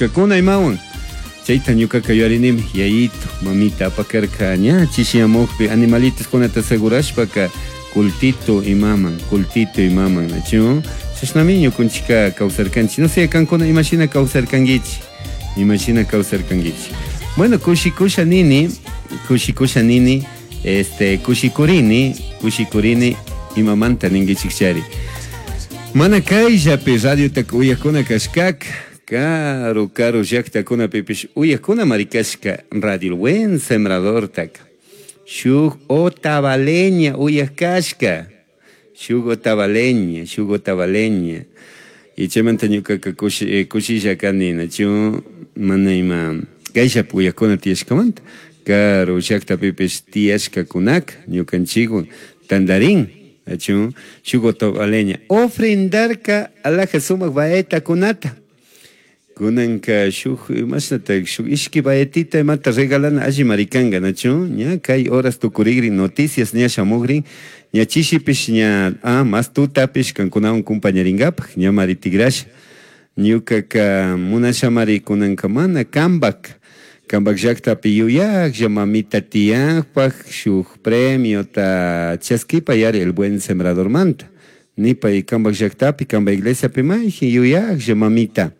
kashkakuna imawan. Chayta ñuqaqa yuyarinimi, yayito, mamita apakarka ña chishiyamuqpi animalitoskunata asegurashpaka cultito imaman, cultito imaman, nachu? Chashnami ñukunchikka kawsarkanchik. No sé, kankuna imashina kawsarkankichik, imashina kawsarkankichik. Bueno, kushikusha nini, kushikusha nini, este, kushikurini, kushikurini imamanta ninkichikchari. Mana kayllapi radiotaka uyakuna kashkaka, karu karu llaktakunapipish uyakunamari kashka Radio El Buen Sembradortaka. Shuk otavaleña uyak kashka, shuk otavaleña, shuk otavaleña. Y chaymanta ñukaka kushi, kushilla kani, nachu mana ima kayllapi uyakuna tiyashkamanta, karu llaktapipish tiyashkakunaka ñukanchikwan tandarin, nachu shuk otavaleña ofrendarka alhaja sumak baetakunata. Kunanka shuk imashnata shuk ishki baetita imata regalana allimari kanka, nachu ña kay horas tukurigrin noticias ña shamugrin, ña chishipish ña, ah, mas tutapish kankunawan compañaringapak ñamari tigrasha. Ñukaka munashamari kunanka mana kambak, kambak llaktapi yuyaklla mamita tiyakpak shuk premiota chaskipa yari El Buen Sembradormanta. Nipay kambak llaktapi, kambak iglesiapi mayjin yuyaklla mamita.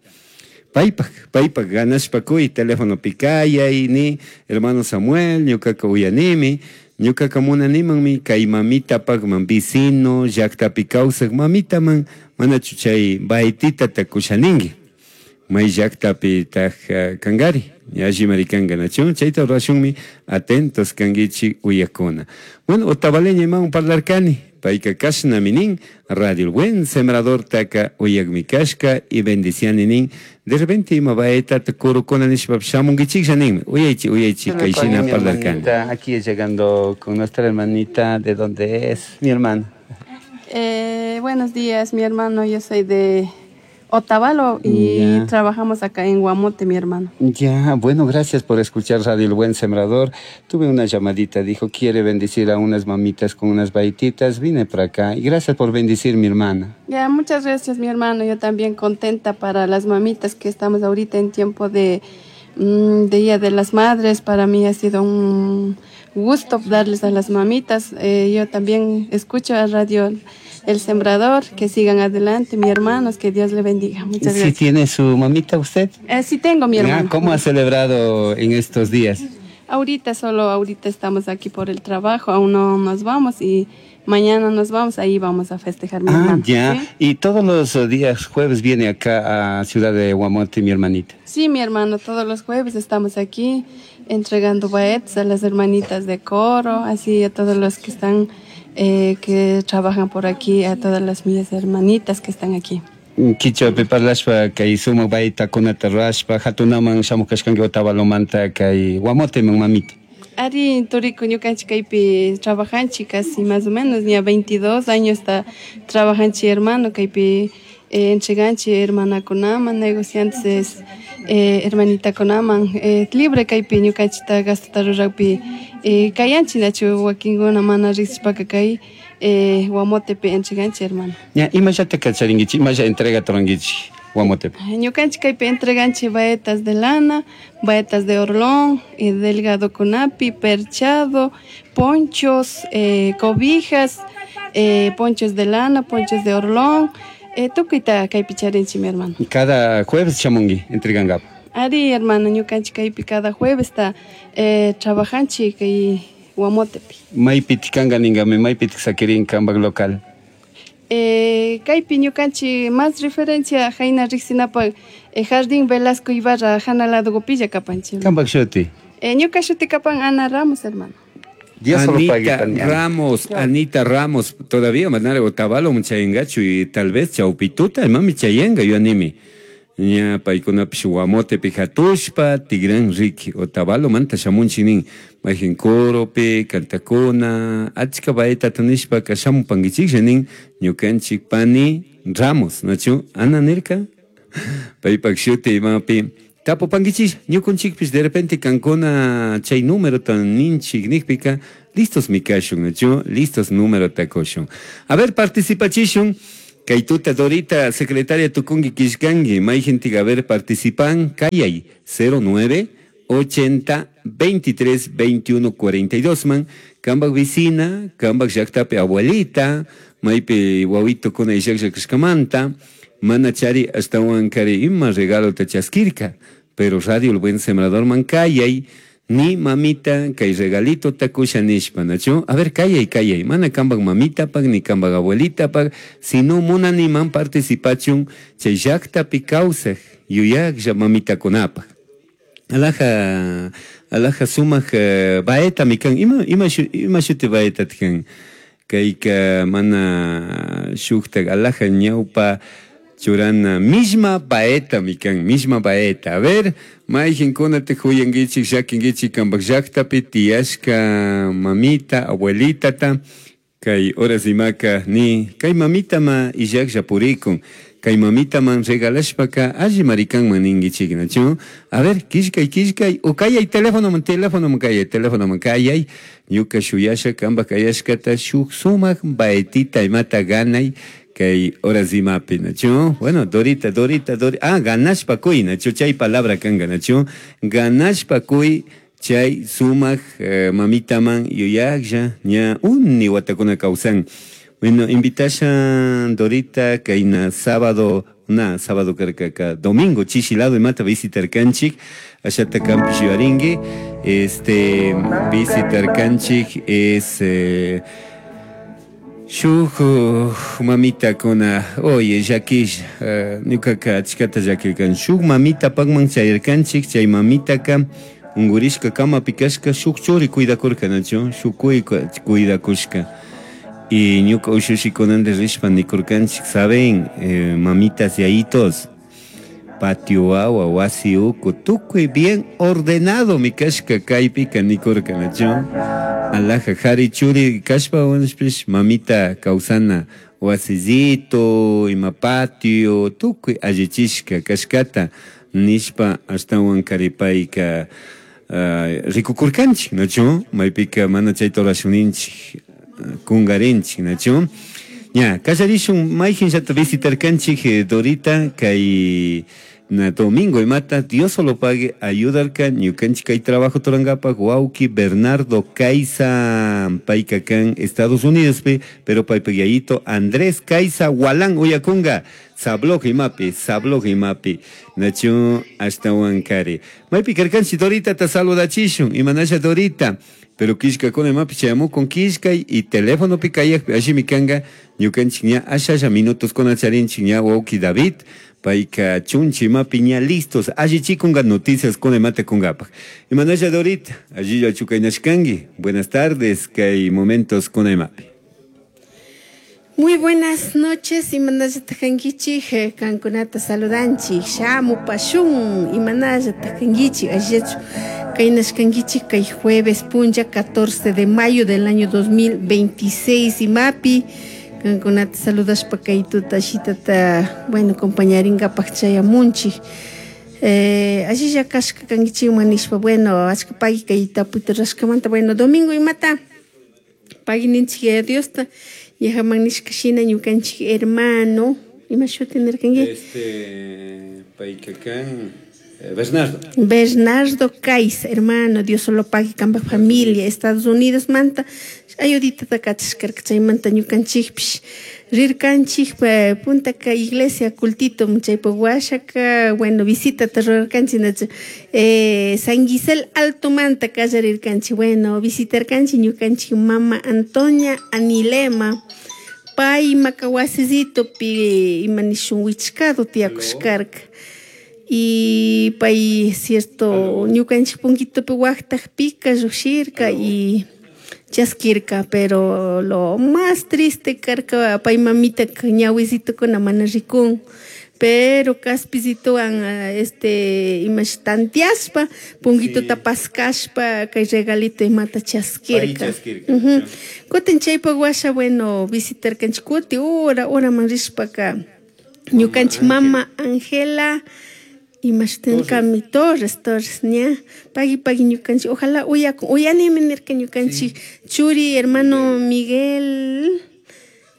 Paypak, paypak ganashpa kuy telefonopi kayay ni hermano Samuel, ñukaka uyanimi, ñukaka munanimanmi kay mamitapakman vecino llaktapi kawsak mamitaman manachu chay baetitata kushaninki. May llaktapi taj kankari, allimari kanka, nachu? Chayta rurashunmi atentos kankichik uyakuna. Bueno, otavaleña imawan parlarkani, payka kashnami nin, Radio El Buen Sembrador taka uyakmi kashka y bendiciani nin. De repente ima baetata kurukuna nishpa shamunkichiklla ninmi. Uyaychi, uyaychi, Con kayshina mi parlarkani. hermanita, aquí llegando con nuestra hermanita, ¿de dónde es mi hermana? Buenos días, mi hermano, yo soy de Otavalo y trabajamos acá en Guamote, mi hermano. Ya, bueno, gracias por escuchar Radio El Buen Sembrador. Tuve una llamadita, dijo, quiere bendecir a unas mamitas con unas baititas. Vine para acá y gracias por bendecir, mi hermana. Ya, muchas gracias, mi hermano. Yo también contenta para las mamitas que estamos ahorita en tiempo de Día de las Madres. Para mí ha sido un gusto darles a las mamitas. Yo también escucho a Radio El Sembrador, que sigan adelante, mi hermanos, que Dios le bendiga. Muchas ¿Sí gracias. tiene su mamita usted? Sí tengo, mi Ah, hermano. ¿cómo ha celebrado en estos días? Ahorita, solo ahorita estamos aquí por el trabajo, aún no nos vamos y mañana nos vamos, ahí vamos a festejar, mi Ah, hermano. ya. ¿Sí? Y todos los días jueves viene acá a Ciudad de Guamote, mi hermanita. Sí, mi hermano, todos los jueves estamos aquí entregando baetas a las hermanitas de coro, así a todos los que están, que trabajan por aquí, a todas las mis hermanitas que están aquí. Kichwapi parlashpa kay sumak baetakunata rurashpa hatunaman shamuj kashkanki Otavalomanta kay Guamoteman, mamita. Ari, turiku, ñukanchik kaypi trabajanchik casi más o menos, ya 22 años está trabajanchik, hermano, kaypi entreganchik hermanakunaman, negociantes hermanitakunaman, libre kaypi ñukanchikta gastota ruraqpi kayanchik, nachu wakinkuna mana riqsishpaka kay Guamotepi entreganchik, hermano. Ña, imallata kacharinkichik, imalla entrega turankichik Guamotepi? Ñukanchik kaypi entreganchik baetas de lana, baetas de orlón, delgado kunapi, perchado, ponchos, cobijas, ponchos de lana, ponchos de orlón, tukuyta kaypi charinchik, mi hermano. Cada jueves shamunki entregankapa. Ari, hermano, ñukanchik kaypi cada jueves ta trabajanchik kay Guamotepi. Maypitik kanka ninkami, maypitik sakirin kanpak local? Kaypi ñukanchik más referencia jayna riqsinapak Jardín Velasco Ibarra jana lado gopilla kapanchik. Kanpak shuti? Ñuka shuti kapan Ana Ramos, hermano. Dios solo Anita pague, Tania. Ramos, Anita Ramos, todavía manara Otavalo muchayengachu y tal vez chaupituta, mami chayenga, yo animi. Ña paykunapish Guamotepi hatushpa, Tigran Ricky, Otavalo manta shamunchik nin, mayjin coropi, cantakuna, achka baetata nishpaka shamupankichiklla nin, ñukanchik pani Ramos, nachu, Ana nirka, paypak shuti imapi, tapupankichik, ñukunchikpish de repente kankuna chay número tan ninchik nikpika, listos mikashun, nachu, listos número takushun. A ver, participachishun. Kay tuta Dorita, secretaria tukunki killkanki, mayjintik a ver participan, kayay 09 80 23 21 42 man, kambak vecina, kambak llaktapi abuelita, maypi wawitukuna illaklla kashkamanta, mana chari ashtawan kari ima regalota chaskirka, pero Radio El Buen Sembrador man kayay, ni mamita kay regalito takusha nishpa, nachu? A ver, kayay, kayay, mana kambak mamita pak, ni kambak abuelita pak, sino munani man participachun chay llaktapi kawsaj yuyaklla mamitakunapaj. Alaja, alaja sumak baeta mikan, ima, ima, ima shuti baeta tkan, kayka mana shuktak alaja ñawpa churana misma baeta mikan, misma baeta. A ver, mayqinkuna huyankichik llakinkichik kambak llaktapi tiyashka mamita, abuelitata, kay horas imaka ni kay mamita ma illaklla purikun, kay mamita man regalashpaka alli marikanman ninkichik, nachu? A ver, killkay, killkay, o kayay teléfono man, teléfono man kayay, teléfono man kayay, ñuka shuyasha kambak kayashkata shuk sumak baetita imata ganay, kay horas imapi, nachu? Bueno, Dorita, Dorita, Dorita, ah, ganashpa kuy, nachu, chay palabra kanga, nachu? Ganashpa kuy, chay sumak mamita man yuyaklla, ña uni watakuna kawsan. Bueno, invitasha Dorita kayna sábado, na sábado karkaka, domingo chishi lado imata visitar kanchik, ashata kampish yuaringi, visitar kanchik es shuk mamita kuna, oye, llakish, ñukaka achkata llakirkan, shuk mamita pakman chayarkanchik, chay mamitaka ungurishka kamapi kashka shuk churi cuidakurka, nachu, shuk cuidakushka. Y ñuka ushushikunanta rishpa nikurkanchik, saben, mamitas yayitos, patio wawa, wasi uku, tukuy bien ordenado mi kashka kaypika nikurka, nachu. Alaja jari churi kashpa wanashpish mamita kawsana wasillito, ima patio, tukuy allichishka kashkata nishpa ashtawan karipayka rikukurkanchik, nachu, maypika mana chayta rurashuninchik, kungarinchik, nachu. Ña, kallarishun mayqinllata visitarkanchik Dorita kay na domingo imata, Dios solo pague ayudarka ñukanchik kay trabajo turankapak wawki Bernardo Caiza payka kan Estados Unidos pi, pero paypak yayito Andrés Caiza Walán uyakunga sabloj imapi, sabloj imapi, nachu ashtawan kari. Maypi karkanchik Dorita ta saludachishun, imanasha Dorita, pero killkakuna imapi chayamukun killkay y teléfono pi kayakpi allimi kanga ñukanchik ña ashalla minutos kuna charinchik ña wawki David, payka chunchi imapi ña listos, allichikunga noticias kuna imata kungapak. Imanasha Dorita, allilla chukaynashkanki, buenas tardes, kay momentos kuna imapi. Muy buenas noches, imanalla tajankichik, kankunata saludanchik, shamu pashun, imanalla tajankichik, allillachu kaynashkankichik kay jueves punlla 14 de mayo del año 2026, imapi, kankunata saludashpa kay tuta shitata, bueno, compañarinkapak chayamunchik. Allilla kashka kankichikman nishpa, bueno, achka pagui kay tapuyta rashkamanta, bueno, domingo imata, pagui ninchik Yaya Diosta, yajaman nishka shina ñukanchik hermano, ima shuti nirkanki? Payka kan Bernardo. Bernardo Caiza, hermano, Dios solo pague kambak familia, Estados Unidos manta, ayudita kachashkarka chaymanta ñukanchikpish rirkanchik puntaka iglesia cultito chaypak washaka, bueno, visitata rurarkanchik, nachu, San Gisel Alto manta kallarirkanchik, bueno, visitarkanchik ñukanchik mama Antonia Anilema, pay imaka wasisitopi ima nishun wichkado tiyakushkarka. Y pay cierto ñukanchik punkitopi waktakpika llushirka y chaskirka, pero lo más triste karka pay mamita ñawisitokuna mana rikun, pero kaspizitowan imash tantiashpa punkitota paskashpa kay regalito imata chaskirka. Kutin chaypak washa, bueno, visitarkanchik kuti hora horaman rishpaka ñukanchik mama Angela imashtinkami Torres, Torres, ña, pagui pagui ñukanchik, ojalá uyakun, uyanimi nirka ñukanchik churi hermano Miguel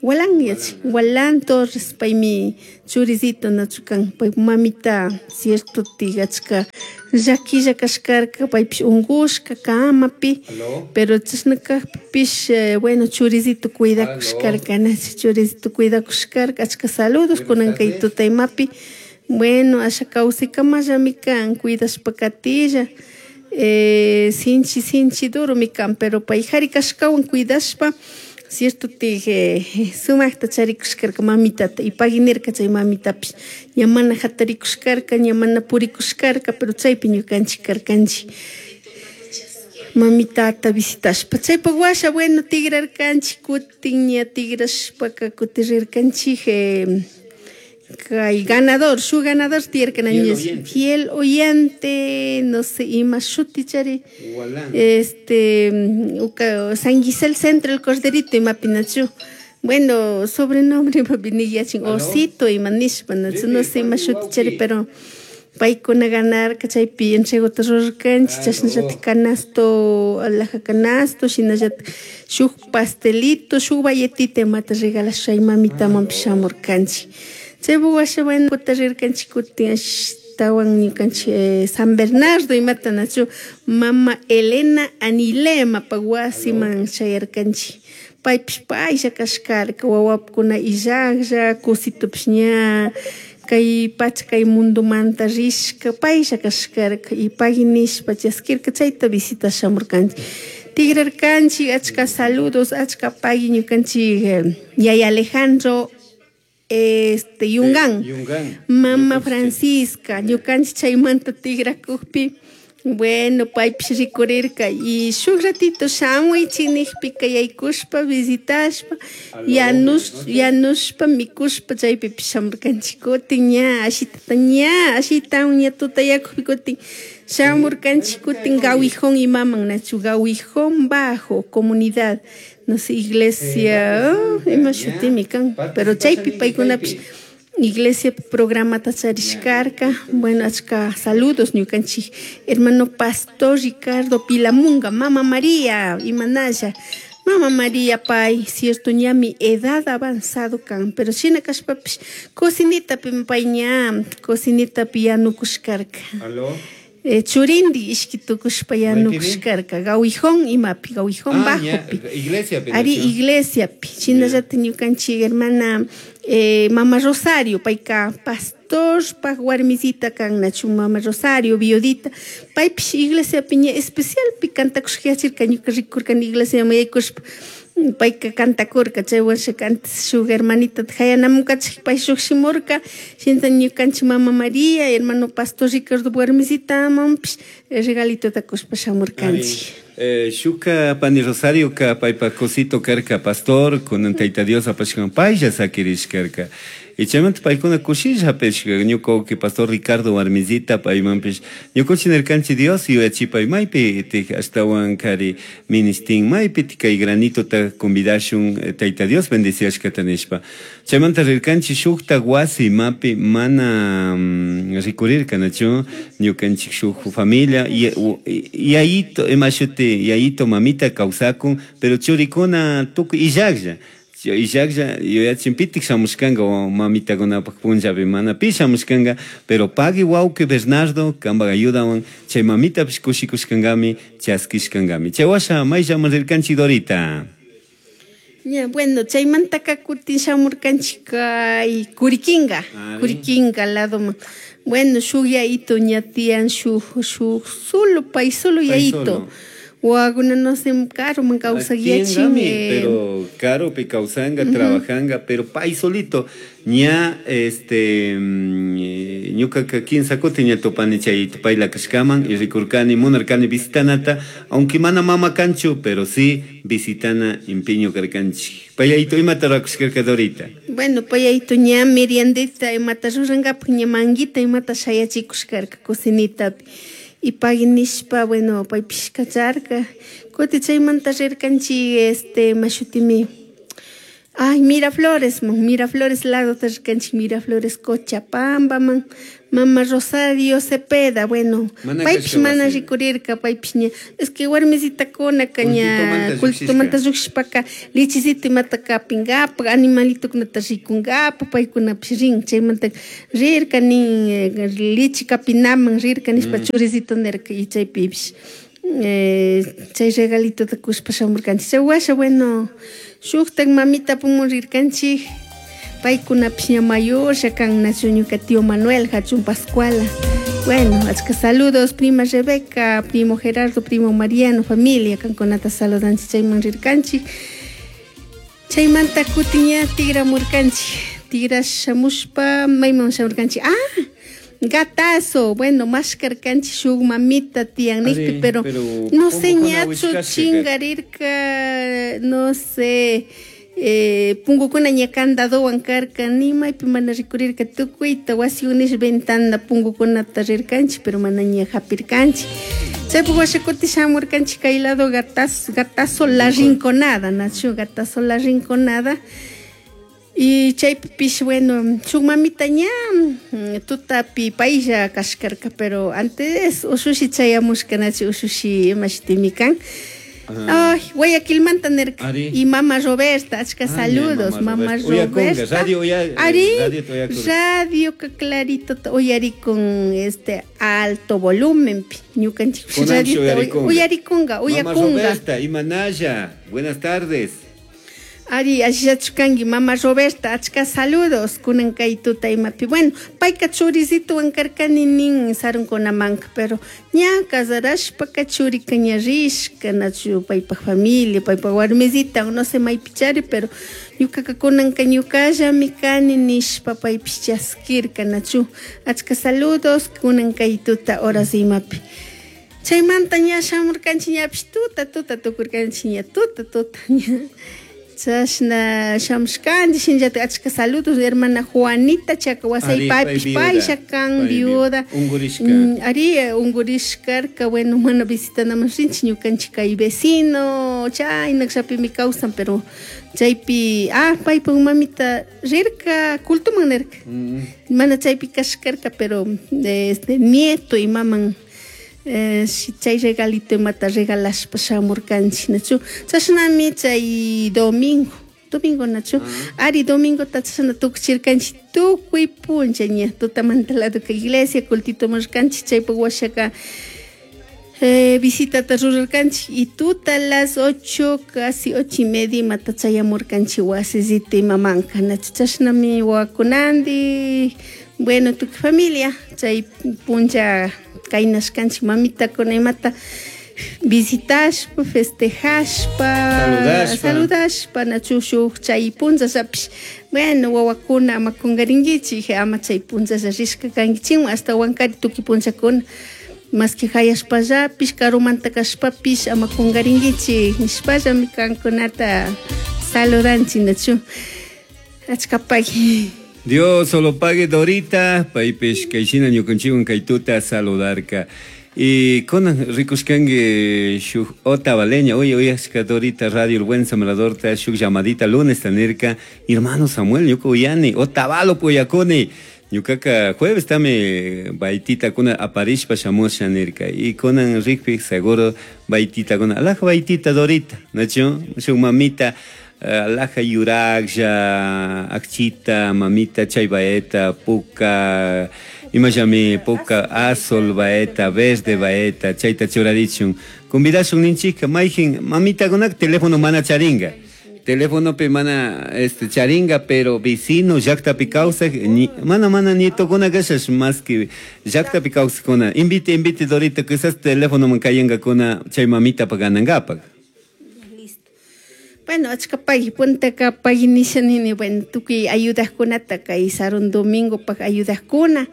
Walán yachin Walán Torres paymi churisito nachu kan pay mamita cierto achka llaquilla kashkarka paypish unkushka kamapi pero chashna kakpipish bueno churisito cuidakushkarka nachu churisito cuidakushkarka achka saludos kunan kay tuta imapi bueno asha kawsaykamallami kan cuidashpa katilla sinchi sinchi duromi kan pero pay kari kashkawan cuidashpa cierto tik sumakta charikushkarka mamitata y pagui nirka chay mamitapish ña mana jatarikushkarka ña mana purikushkarka pero chaypi ñukanchik karkanchik mamitata visitashpa chaypak washa bueno tigrarkanchik kutin ña tigrashpaka kutin rirkanchik kay ganador shuk ganador tiyarka fiel oyente no sé ima shuti chari este San Gisel Centro el Corderito imapi nachu bueno sobrenombre imapi yachin Osito ima nishpa nachu no sé ima shuti chari pero paykuna ganarka chaypi entregota rurarkanchik chashnallatik canasto alhaja canasto shinallatik shuk pastelito shuk bayetita imata regalasha chay mamitamanpish shamurkanchik chaypuk washa bueno kuta rirkanchik kutin ashtawan ñukanchik San Bernardo imata nachu mama Elena Anilemapak wasiman chayarkanchik paypish paylla kashkarka wawapukuna illaklla kusitupish ña kay pacha kay mundomanta rishka paylla kashkarka y pagui nishpa chaskirka chayta visita shamurkanchik tigrarkanchik achka saludos achka pagui ñukanchik yaya Alejandro este Yungán, mama Francisca ñukanchik chaymanta tigrakukpi bueno paypish rikurirka y shuk ratito shamuychik nikpika yaykushpa visitashpa yanushpa mikushpa chaypipish shamurkanchik kutin ña ashitata ña ashitawan ña tutayakukpi kutin shamurkanchik kutin Gawijón imaman nachu Gawijón Bajo comunidad no sé iglesia ima shutimi kan pero chaypi paykunapish iglesia programata charishkarka bueno achka saludos ñukanchik hermano pastor Ricardo Pilamunga mama María imanalla mama María pay cierto ñami edad avanzado kan pero shina kashpapish cocinitapi pay ña cocinitapi yanukushkarka churindi ishki tukushpa yanukushkarka Gawijón imapi Gawijón Bajopi ari iglesiapi shinallatik ñukanchik hermana mama Rosario payka pastor pak warmisita kan nachu mama Rosario viudita paypish iglesiapi ña especialpi kantakushka yachirka ñuka rikurkani iglesiaman yaykushpa payka kantakurka chay washaka antes shuk hermanitata hayanamunkachik pay shukshimurka shinata ñukanchik mama María hermano pastor Ricardo warmisitamanpish regalitota kushpa shamurkanchik. Shuka pani Rosario ka paypa cosito karka pastor kunan tayta Dios apashkan paylla sakirishkarka y chaymanta paykuna kushilla hapishka ñuka wawki pastor Ricardo warmisita paymanpish ñukunchik nirkanchik Dios yuyachipay maypi tik ashtawan kari ministin maypi kay granitota convidashun tayta Dios bendiciashkata nishpa chaymanta rirkanchik shukta wasi imapi mana rikurirka nachu ñukanchik shuk familia yayito ima shuti yayito mamita kawsakun pero churikuna tukuy illaklla illaklla yuyachin pitik shamushkanka mamitakunapak punllapi mana pi shamushkanka pero pagui wawki Bernardo kanpak ayudawan chay mamitapish kushikushkankami chaskishkankami chay washa mayllaman rirkanchik Dorita. Ya, bueno, chaymantaka kutin shamurkanchik kay Curiquinga, Curiquinga ladoman. Bueno, shuk yayito ña tiyan shuk shuk solo pay solo yayito. Wawakuna no sé karuman kawsak yachin. Pero karupi kawsanga, trabajanga, pero pay solito ña este ñukaka kinsa kutin ña tupani chay payla kashkaman y rikurkani munarkani visitanata aunque mana mama kanchu pero sí visitana empeño karkanchik. Payayito imata rurakushkarka Dorita. Bueno, payayito ña meriendita imata rurankapak ña manguita imata shayachikushkarka cocinitapi. Y pagui nishpa bueno paypish kacharka kutin chaymanta rirkanchik este mashutimi Ay, Miraflores, man, Miraflores lado rirkanchik, Miraflores Cochabambaman, mama Rosario Cepeda, bueno, paypish mana rikurirka, paypish ña, es que warmisitakuna ña cultomanta llukshishpaka lichisito imata kapinkapak, animalitokunata rikunkapak, paykunapish rin, chaymanta rirka nin, lichi kapinaman rirka nishpa churisito nirka y chaypipish chay regalitota kushpa shamurkanchik. Chay washa, bueno, shuktak mamita pumun rirkanchik, paykunapish ña mayorlla kan, nachu ñuka tío Manuel Hachun Pascuala. Bueno, achka saludos, prima Rebeca, primo Gerardo, primo Mariano, familia, kankunata saludanchik, chayman rirkanchik. Chaymanta kutin ña tigramurkanchik, tigrash shamushpa mayman shamurkanchik, ah, gatazo, bueno, mashkarkanchik shuk mamita tiyan nikpi, pero no sé ñachu chingarirka, no sé, pungukuna ña candadowan karka, ni maypi mana rikurirka, tukuyta wasi unish ventana pungukunata rirkanchik, pero mana ña hapirkanchik. Chaypuk washa kuti shamurkanchik kay lado gatazo, gatazo La Rinconada, nachu gatazo La Rinconada. Y chaypipish, bueno, shuk mamita ña tutapi paylla kashkarka, pero antes ushushi chayamushka, nachu ushushi imashitimi kan. Ay, Guayaquilmanta nirka. Y mama Roberta, achka saludos, mama Roberta. Radio, Ari, radio ka clarito uyarikun este alto volumen, ñukanchik radio uyarikunga, uyakunga. Mama Roberta, imanaya, buenas tardes. Ari, ashillachu mama Roberta, achka saludos, kunan kay tuta imapi. Bueno, payka churisituwan karkani nin sarunkunamanka, pero ña casarashpaka churika ña rishka, nachu paypak familia, paypak warmisita, no sé maypichari, pero ñukaka kunanka ñukallami kani nishpa paypish chaskirka, nachu. Achka saludos, kunan kay tuta horas imapi. Chaymanta ña shamurkanchik ñapish tuta, tuta tukurkanchik ña, tuta, tuta ña. Chashna shamushkanchik, shinallatak achka saludos hermana Juanita Chacahuasay, paypish paysha kan viuda, ari ungurishkarka, bueno, mana visitanaman rinchik ñukanchik kay vecino chaynakllapimi kawsan, pero chaypi, ah, paypak mamita rirka cultuman nirka, mana chaypi kashkarka, pero este nieto imaman chay regalito imata regalashpa shamurkanchik, nachu. Chashnami chay domingo, domingo nachu, ari domingota chashna tukuchirkanchik tukuy puncha ña tutamanta lado ka iglesia cultito murkanchik, chaypak washaka visitata rurarkanchik y tuta las 8, casi 8:30 imata chayamurkanchik wasisita imamanka, nachu. Chashnami wawakunandi, bueno, tukuy familia chay puncha kaynashkanchik mamitakuna imata visitashpa, festejashpa, saludashpa, nachu shuk chay punchallapish, bueno, wawakuna ama kunkarinkichik, ama chay punchalla rishka kankichikwan, ashtawankari tukuy punchakuna, maski hayashpallapish, karumanta kashpapish ama kunkarinkichik nishpallami kankunata saludanchik, nachu. Achka pagui. Dios solo pague Dorita, paypish kayshina ñukanchikwan kay tuta saludarka. Y kunan rikushkanki shuk otavaleña, oye, uyashka Dorita Radio El Buen Sembradorta, shuk llamadita lunes tanirka, hermano Samuel, ñuka uyani, Otavalo puyakuni. Ñukaka jueves tami baitita kuna aparishpa shamusha nirka. Y kunan rikpi seguro baitita kuna, alaja baitita Dorita, nachu, shuk mamita, alaja yuraklla, akchita, mamita, chay baeta, puka, imallami puka, azul baeta, verde baeta, chayta churarichun. Convidashun ninchika, mayjin, mamita kunak teléfono mana charinga. Teléfono pe mana este charinga, pero vecino llaqtapi kawsaq mana mana nietokuna kashash más que llaqtapi kawsaqkuna. Invite, invite Dorita, quizás teléfono man kayankakuna chay mamita pa ganankapak. Bueno, achka pagui, puntaka pagui nisha nini, bueno, tukuy ayudaqkunata kay sarun domingo pak ayudaqkuna,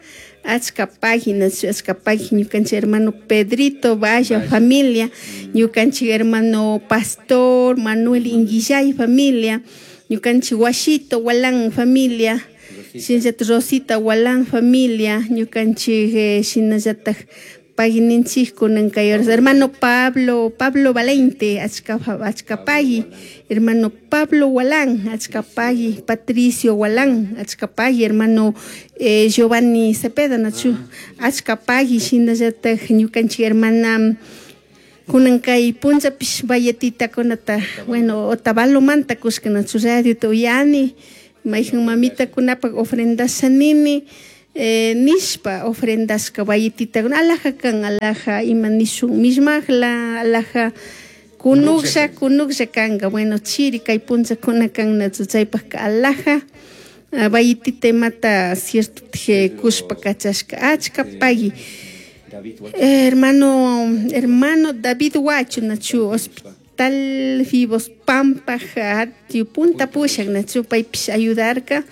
achka pagui, achka pagui, ñukanchik hermano Pedrito Vaya, familia, ñukanchik hermano Pastor Manuel Inguillay, familia, ñukanchik Washito Walán, familia, shinallatak Rosita Walán, familia, ñukanchik shinallatak Pagui ninchik kunan kay horas. Hermano Pablo, Pablo Valente, achka achka pagui. Hermano Pablo Walán, achka pagui. Patricio Walán, achka pagui. Hermano Giovanni Cepeda, nachu, achka pagui. Shinallataj ñukanchik hermana kunan kay punllapish bayetitakunata, bueno, Otavalomanta kushka nachu radiota uyani, mayjan mamitakunapak ofrendasha nini, nishpa ofrendashka bayetitakuna, alaja kan, alaja ima nishun mishmakla, alaja kunuklla, kunuklla kanka, bueno, chiri kay punllakuna kan nachu chaypajka alaja bayetita imata cierto kushpa kachashka, achka pagui. Hermano David Huacho, nachu, Hospital Vivos Pampa, atiu punta pushak, nachu, paypish ayudarka,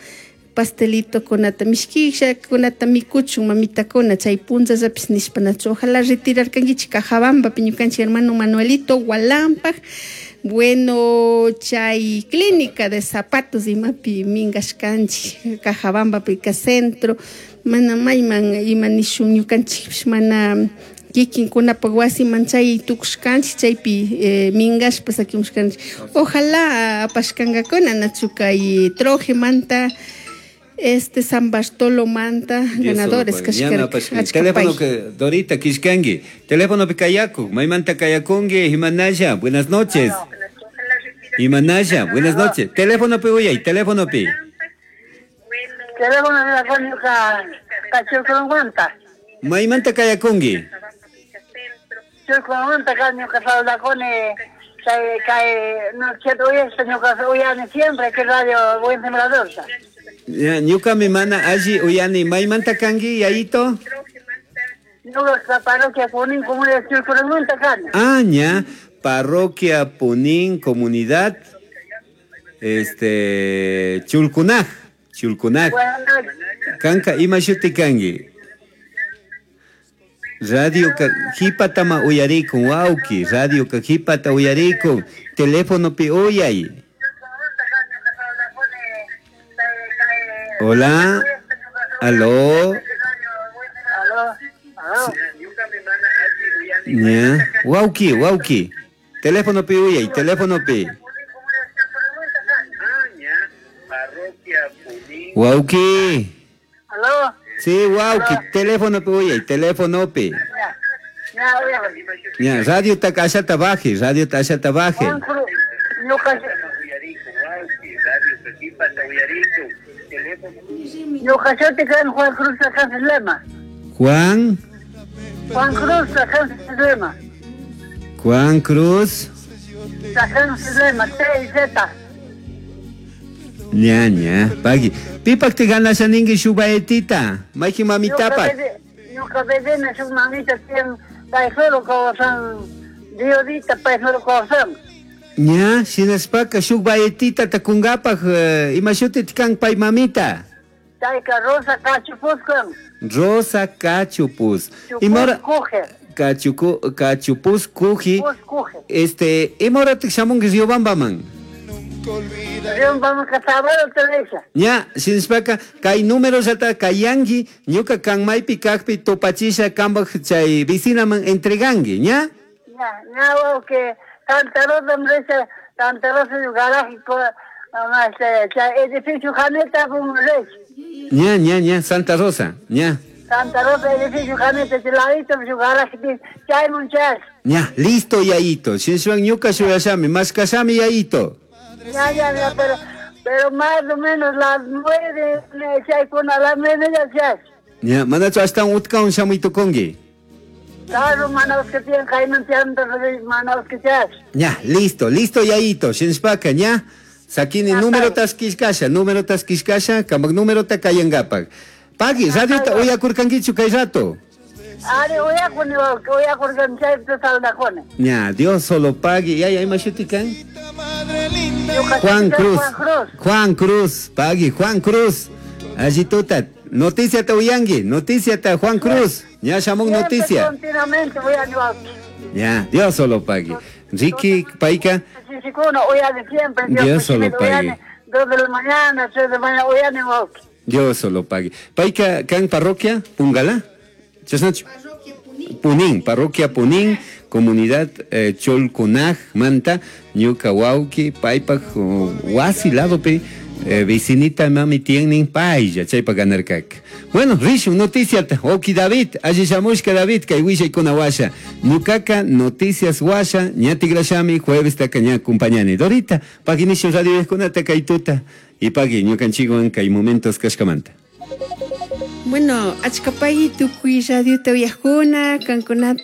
pastelito kunata mishkisha, kunata mikuchun, mamitakuna, chay punllallapis nishpa, nachu, ojalá retirarkankichik Cajabambapi, ñukanchik hermano Manuelito Hualampaj, bueno, chay clínica de zapatos imapi minkashkanchik, Cajabambapi ka centro, mana mayman ima nishun ñukanchikpish mana kikinkunapak wasiman chay tukushkanchik, chaypi minkashpa sakimushkanchik. Ojalá apashkankakuna nachu kay Trojemanta, San Bartolomanta, ganadores kashkarka. Teléfono que Dorita kishkanki, teléfono kayaku, maymanta kayakunki, Himanaya, buenas noches. Himanaya, buenas noches. Teléfono pi uyay, teléfono pi. Teléfono de la cónica Cachurcunguanta. Maymanta kayakunki. Churcunguanta kañuka saudacone, kay no quiero oír, ñuka uyani siempre que radio Buen Sembrador. Ñuka mi mana allí uyani, maymanta kanki yayito. Ñuka parroquia Punín, comunidad Churcunguanta kaña. Ah, ña, parroquia Punín, comunidad Chulcunaj. Chulcunaj. Kanka ima shuti kanki. Radio ka hipatama uyarikun, wauki, radio ka hipata uyarikun, teléfono pi uyay. Hola, aló. Aló, aló. Ña, wauki, wauki. Teléfono pi uyay, teléfono pi. Wauki. Aló. Sí, wauki, teléfono pi uyay, teléfono pi. Ya, radio ta ashata baje, radio ta ashata baje. Ñuka shuti kan Juan Cruz Lema. Juan. Juan Cruz Lema. Juan Cruz. Lema, T y Z. Ña, ña, pagui. Pipak te ganas a ningi shubaetita. Maiki mamitapak. Ñuka bedena shuk mamita tiyan paisoro kawsan diodita paisoro kawsan. Ña, shinaspaka shuk baetita takungapak ima shuti tikan pay mamita. Chayka Rosa Cachupuz kan. Rosa Cachupuz. Imora Cachucu Cachupuz kuji. Imora tik shamunki Riobambaman. Ña, shinaspaka kay número llata kayanki ñuka kan maypi kakpi tupachisha kambaj chay vicinaman entreganki, ña? Ña, ña wawqi Santa Rosa mresha, Santa Rosa garaje chay edificio Janeta resh. Ña, ña, ña, Santa Rosa, ña. Santa Rosa edificio Janeta chay ladito shu garaje chaymun chash. Ña, listo yayito, shinshwan ñuka shuyashami, mashkashami yayito. Ya, ya, ya, pero más o menos las 9, chaykuna, las 9 ya chash. Ya, manachu ashtawan utkawan shamuytukunki. Claro, manaus que tienen kayman tianta, manaus que chash. Ya, listo, listo yayito, shinshpaka, ña. Sakini número taskishkasha, número taskishkasha, kamak número ta kayangapak. Pagui, radiota uyakurkankichu kay rato. Ari uyakuni, uyakurkan chaypita saldakuni. Ña, Dios solo pagui. Ya, ya, ima shuti kan? Juan Cruz. Juan Cruz, pagui, Juan Cruz. Allí tuta, noticia ta uyangi, noticia ta Juan Cruz. Ña shamun noticia. Continuamente uyani. Ya, Dios solo pagui. Ricky Paika. Dios solo pague. 2 de la mañana, 3 de la mañana, uyani. Dios solo pague. Paika, kan parroquia, Pungala. Chasnachu. Parroquia Punín. Punín, parroquia Punín, comunidad Cholconaj, Manta, ñuka wawki, paypak wasi ladopi, vecinita mami tienen paylla, chaypa ganarkak. Bueno, rishun noticiata, oki David, alli shamushka David, kay willaykuna washa. Ñukaka noticias washa, ña tigrashami, jueves taka ña acompañani. Dorita, paginishun radio kunata kay tuta, y pagui ñukanchikwan kay momentos kashkamanta. Bueno, achkapay tukuy radiota uyajkuna, kankunata.